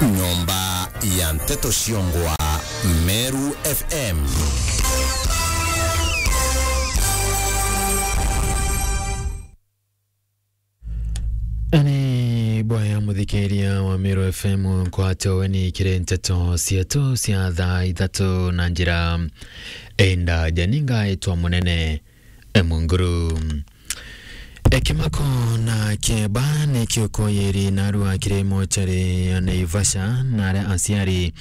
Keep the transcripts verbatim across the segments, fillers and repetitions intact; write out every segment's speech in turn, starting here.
Nyomba ya nteto ciongwa Meru F M. Ni bwaya muthikiria wa Meru F M, nkwate weni kiri nteto cietu cia thaa ithatu na njira enda janinga itwa munene Munguru. Ekimako na kieba ni kiukoyeri narua kiri mochari ya Naivasha, na aria aciari,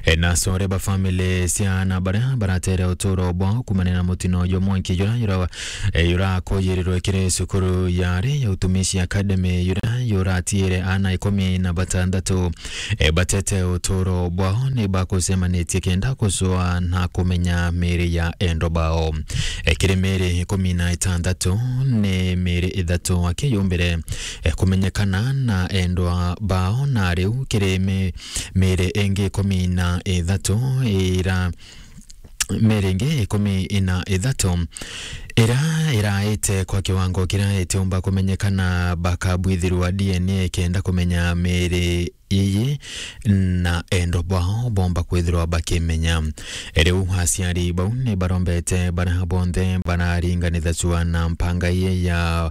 e, na acore ba family cia ana baria baratere uturo bwao kumania na mutino jwa mwanki jura, jura, e, jurakoyerirwe kiri cukuru ya ari ya Utumishi Academy, jura juratiire ana ikumi na batandatu, e, batete uturo bwao ni bakucemanitie kenda kucua na kumenya miri ya endwa bao. E, kiri miri ikumi na itandatu ni miri ithatu akiyumbire, e, kumenyekana na endwa bao, na riu kiri mi-, miri ingi ikumi na ithatu ira miri ingi ikumi na ithatu ira iraite kwa kiwango kiria itiumba kumenyekana, bakabwithirwa D N A kenda kumenya miri iyi na endwa bwao bomba kwithirwa bakimenya. Riu aciari bau ni barombete baria bonthe bararinganithacua na mpanga iyi ya,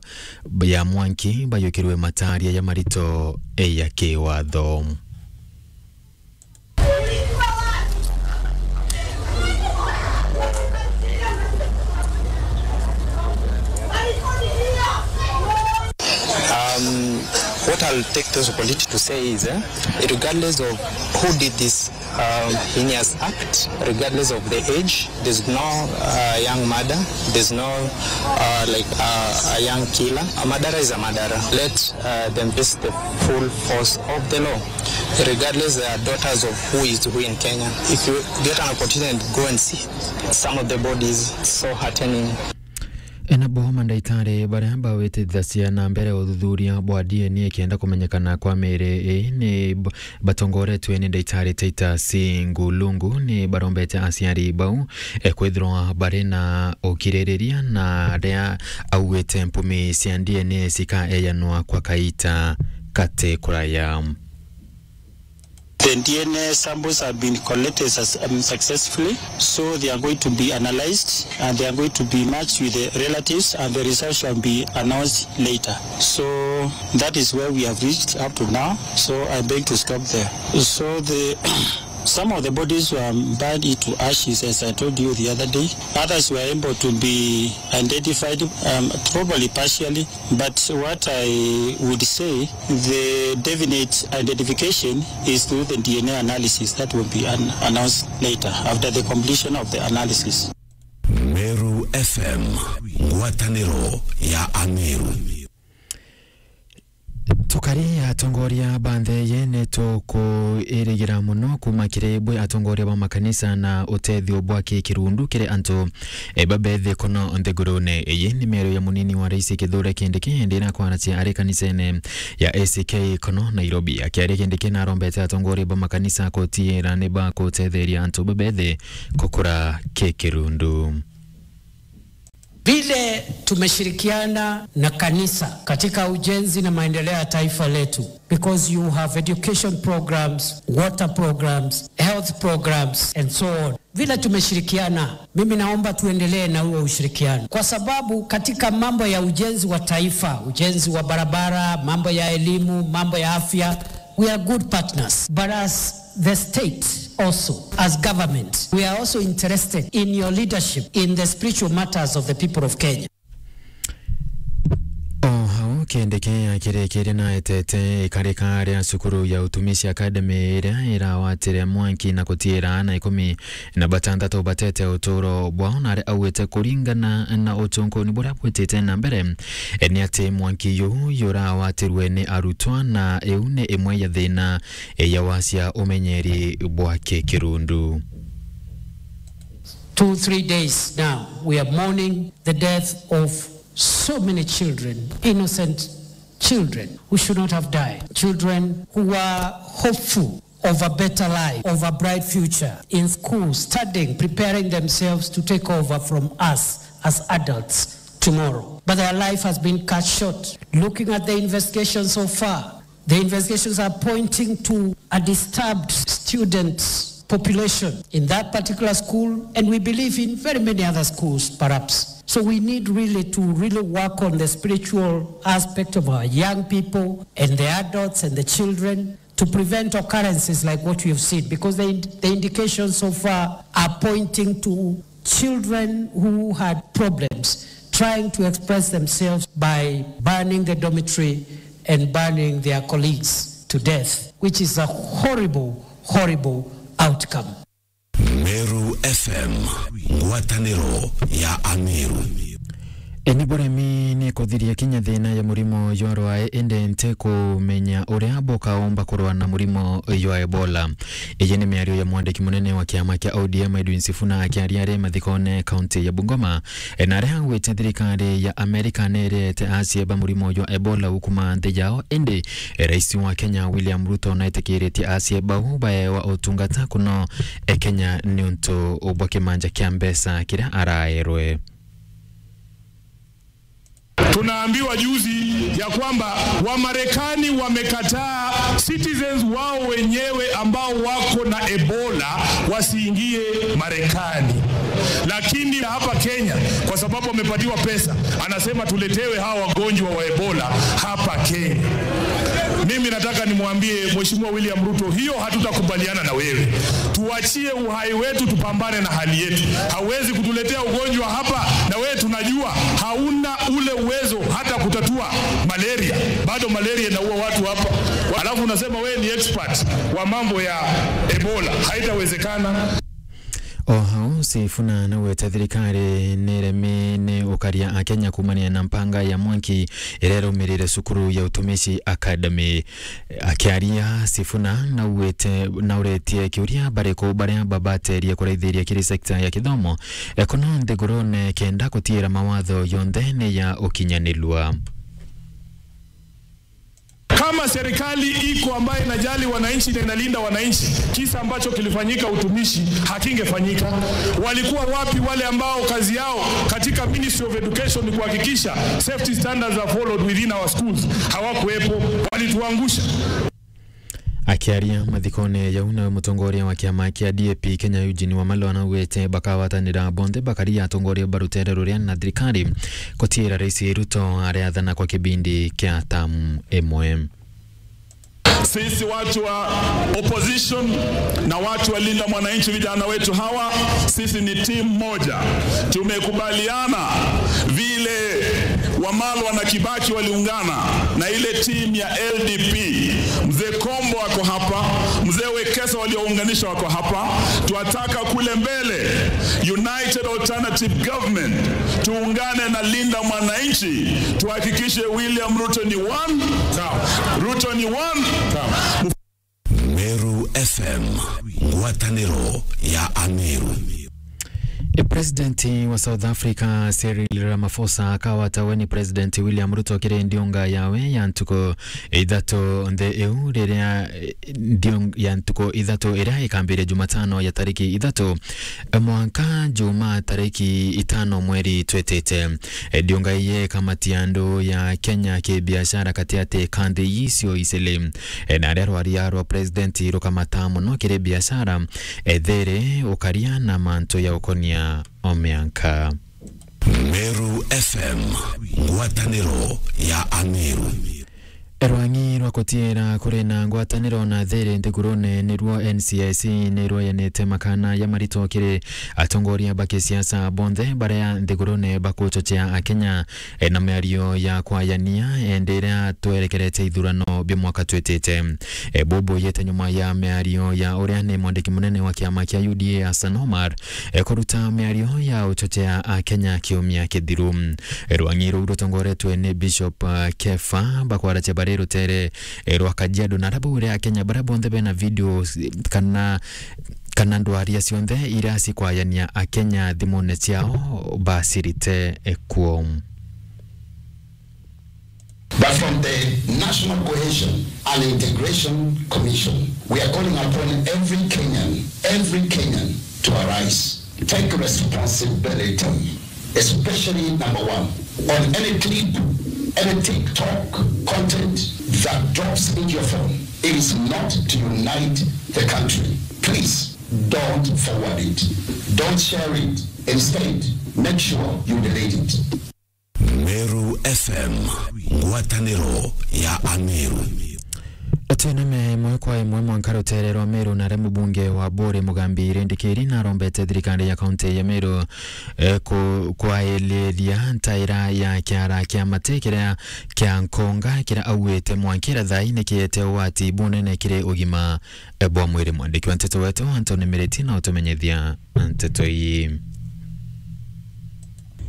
ya mwanki bayukirwe mataria ya marito ya kiwatho. Um, what I'll take this opportunity to say is, eh, regardless of who did this, um, heinous act, regardless of the age, there's no, uh, young murder, there's no, uh, like, uh, a young killer. A murderer is a murderer. Let, uh, them face the full force of the law, regardless they are daughters of who is who in Kenya. If you get an opportunity, go and see some of the bodies, so heartening. Enabo mandaitari baria bawitithacia na mbere uthuthuria bwa D N A kenda kumenyekana kwa miri ii ni b-, batongoretwe ni ndaitari Titus Ngulungu ni barombete aciari bau, e, kwithirwa bari na ukiririria na aria augite mpumi cia D N A cikaeyanwa kwa kaita kati kuraya. The D N A samples have been collected sus-, um, successfully, so they are going to be analyzed and they are going to be matched with the relatives and the results shall be announced later. So that is where we have reached up to now. So I beg to stop there. So the, some of the bodies were burned into ashes, as I told you the other day. Others were able to be identified, um, probably partially. But what I would say, the definite identification is through the D N A analysis that will be an-, announced later after the completion of the analysis. Meru F M, ngwataniro ya Ameru. Tukari atongoria ba nthi ii ni tukwirigira mono kuuma kiri bwi atongoria ba makanisa na utethio bwa kikirundu kiri antu e, babethi kono nthigurune. Iyi ni miario ya munini wa rais Kithure Kindiki, indi ira kwaracia ari kanisene ya A C K kono Nairobi. Akiaria Kindiki narombete atongoria ba makanisa kutiira ni bakutetheria antu babethi kukura kikirundu. Vile tumeshirikiana na kanisa katika ujenzi na maendeleo ya taifa letu, because you have education programs, water programs, health programs and so on. Vile tumeshirikiana, mimi naomba tuendelee na huo ushirikiano, kwa sababu katika mambo ya ujenzi wa taifa, ujenzi wa barabara, mambo ya elimu, mambo ya afya, we are good partners. But as the state also, as government, we are also interested in your leadership in the spiritual matters of the people of Kenya. O hau Kindiki akirikirie na etete ikarika ria cukuru ya Utumishi Academy iria irawatire mwanki na gutiira aana ikumi na batandatu batete uturo bwao, na aria augite kuringana na utunkuni buria bwitite na mbere, e, ni ati mwanki yu jurawatirwe ni arutwa, na iu ni imwe ya thina, e, ya wacia umenyeri bwa kikirundu. Two, three days now, we are mourning the death of so many children, innocent children who should not have died, children who were hopeful of a better life, of a bright future in school, studying, preparing themselves to take over from us as adults tomorrow. But their life has been cut short. Looking at the investigation so far, The investigations are pointing to a disturbed student population in that particular school, and we believe in very many other schools, perhaps. So we need really to really work on the spiritual aspect of our young people and the adults and the children to prevent occurrences like what we have seen, because the ind-, the indications so far are pointing to children who had problems trying to express themselves by burning the dormitory and burning their colleagues to death, which is a horrible, horrible outcome. Meru F M, ngwatanĩro ya Ameru. Eni buremi ni kuthiria kinya thina ya murimo jwa rwae, indi nti kumenya uria bukaumba kurwa na murimo jwa Ebola. Iji ni miario ya mwandiki munene wa kiama kia O D M Edwin Sifuna akiaria ari mathikone kaunti ya Bungoma, na aria augite thirikari ya Amerika ni irete acieba murimo jwa Ebola ukuma nthi yao, indi rais wa Kenya William Ruto naetikiritie acieba bau baewa utungata kuno e Kenya niuntu bwa kimanja kia mbeca kiria araerwe. Tunaambiwa juzi ya kwamba Wamarekani wamekataa citizens wao wenyewe ambao wako na Ebola wasiingie Marekani. Lakini hapa Kenya, kwa sababu amepatiwa pesa, anasema tuletewe hawa wagonjwa wa Ebola hapa Kenya. Mimi nataka nimwambie Mheshimiwa William Ruto, hiyo hatutakubaliana na wewe. Tuachie uhai wetu, tupambane na hali yetu. Hauwezi kutuletea ugonjwa hapa, na wewe tunajua hauna ule uwezo hata kutatua malaria. Bado malaria inaua watu hapa. Alafu unasema wewe ni expert wa mambo ya Ebola. Haitawezekana. O hau, Sifuna naugite thirikari niremi ni ukaria Akenya kumania na mpanga ya mwanki iria iraumirire cukuru ya Utumishi Academy. Akiaria, Sifuna naugite, nauretie kiuria bariku baria babaterie kuraithiria kiri sekta ya kithomo ekuno nthigurune kenda gutiira mawatho yonthe ni ya ukinyanirua. Kama serikali iko ambayo inajali wananchi na inalinda wananchi, kisa ambacho kilifanyika Utumishi hakingefanyika. Walikuwa wapi wale ambao kazi yao katika Ministry of Education ni kuhakikisha safety standards are followed within our schools? Hawakuwepo, walituangusha. Akiaria mathikone jau, nawe mutongoria wa kiama kia D A P Kenya Eugene Wamalwa naugite bakagwatanira bonthe bakaria atongoria ba rutere ruria na thirikari gutiira Rais Ruto ariathana kwa kibindi kia tamu imwe. Sisi watu wa opposition na watu wa Linda Mwananchi, vijana wetu hawa, sisi ni timu moja. Tumekubaliana vile Wamalwa na Kibaki waliungana na ile timu ya L D P. Mzee Kombo ako hapa, Mzee Wekesa waliounganisha wako hapa. Twataka kule mbele, United Alternative Government, tuungane na Linda Mwananchi, tuhakikishe William Ruto ni one, Ruto ni one. Meru F M, ngwatanĩro ya Ameru. E, President wa South Africa Cyril Ramaphosa akawata we ni President William Ruto kiri ndiunga yawe ya ntuku ithatu nthi iu riria, e, ndiung-, ya ntuku ithatu iria ikambiria Jumatano ya tariki ithatu, e, mwanka Juma tariki itano mweri twitite. E, ndiunga iye kamati andu ya Kenya kibiashara katiati ka nthi icio icili. E, na aria rwaria rwa president rukamata mono kiri biashara, ethiri ukaria na mantu ya ukonia o mianka. Meru F M, ngwatanĩro ya Ameru. Rwang'i rwa kutiira kuri na ngwatanĩro na thiri nthigurune niruo N C I C ni rwayanite makana ya marito kiri atongoria ba kisiasa bonthe baria nthigurune bakuchochea Akenya e, na miario ya kwayania, e, ndi iria twerekerete ithurano bia mwaka twitite. E, bubu yete nyuma ya miario ya uria ni mwandiki munene wa kiama kia U D A Hassan Omar, e, kuruta miario ya uchochea Akenya kiumia kithiru. E, rwang'i ruu rutongoretwe ni Bishop, e, Kefa, bakwaratia bari rutere, e, rwa Kajiado, na arabu uria Akenya baria bonthe bena video, e, kana kana ndwaria cionthe iria cikwayania Akenya thimune ciao bacirite kuo. But from the National Cohesion and Integration Commission, we are calling upon every Kenyan, every Kenyan to arise, take responsibility, especially number one, on any clip, any TikTok content, that drops into your phone, it is not to unite the country. Please don't forward it. Don't share it. Instead, make sure you delete it. Meru F M, ngwatanĩro ya Ameru. Twiname imwe kwa imwe mwanka rutere rwa Meru, na aria mubunge wa Buri Mugambi Rindikiri narombete thirikari ya kaunti ya Meru, eh, ku-, kwailiria ntaira ya kiara kia mati kiria kia Nkonga, kiria augite mwankira thai ni kiete ugwati bunene kiri ugima, eh, bwa mwiri. Mwandiki wa nteto wetu Anthony Miriti na utumenyithia nteto ii.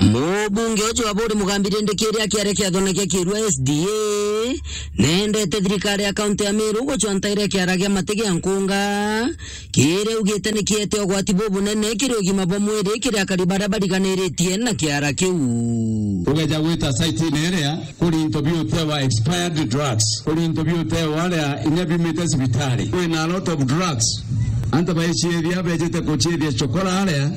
Mubunge uju wa Buri Mugambi Rindikiri akiaria kiathanagia kirua S D A, nendete thirikari ya kaunti ya Meru gucwa ntaira kiara gia mati gia Nkonga, kiria augite ni kiete ugwati bubunene kiri ugima bwa mwiri kiri akari baria bariganiritie na kiara kiu. Ugeja gwita site-ini iria, kuri into biutewa expired drugs, kuri into biutewa aria inya biumite cibitari. Kwina a lot of drugs. Antu baiciithia bejite kuciithia chokora aria,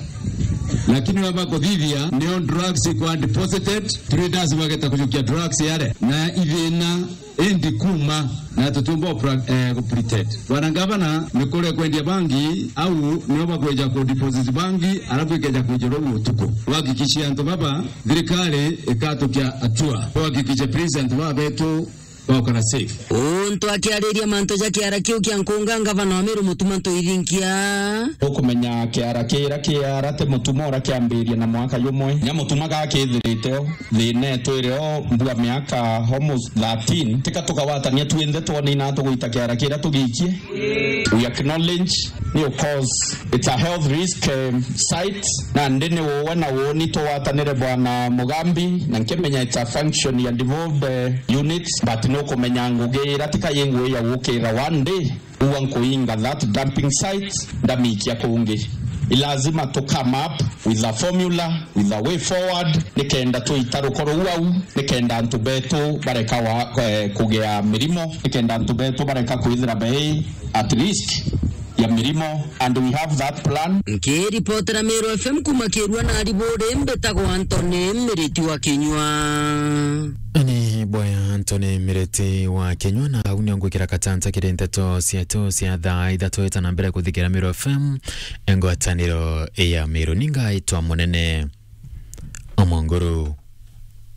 lakini baba kuthithia nio drugs ikwa deposited, traders bageta kujukia drugs aria. Na ithina indi kuma na tutiumba ku pra-, eh, ku pretend. Bwana Gavana, ni kuria kwendia bangi, au nio bakweja ku deposit bangi, alafu ikeja kwijirwa utuku. Wahakikishie antu baba, thirikari ikatukia hatua. Wahakikishe please antu baba betu baukara safe. Untu akiariria mantu ja kiara kiu kia Nkonga, Gavana wa Meru Mutuma Ntoithinkia. Ukumenya kiara kiria kiara ti Mutuma uria kiambiria na mwaka jumwe. Nya Mutuma gakithirite o. Thina itwire o mbua miaka almost thirteen, tika tukawatania twinthe twone ina tugwita kiara kiria tugiikie. We acknowledge niyo cause it's a health risk, um, site, na ndi ni uwe na uuni tuwatanire Bwana Mugambi, na nkimenya it's a function ya devolved, uh, units, but nukumenya ngugi ira tika yi ngugi ya gukira one day. Ua nkuinga that dumping site, ndamikia kungi. I lazima to come up with a formula, with a way forward, nikenda twita rukoro uu au, nikenda antu betu bareka wa, eh, kugea mirimo, nikenda antu betu bareka kwithira bei at risk ya mirimo, and we have that plan. Nkiripotera Meru F M kuma Kirua na Ariburi, mbitagwa Anthony Miriti wa Kinyua. Ni bwega Anthony Miriti wa Kinyua, na au nio ngwikira katanta kiri nteto cietu cia thaa ithatu ita na mbere kuthikira Meru F M, ngwataniro ya Meru. Ni ngaitwa Munene Omonguru.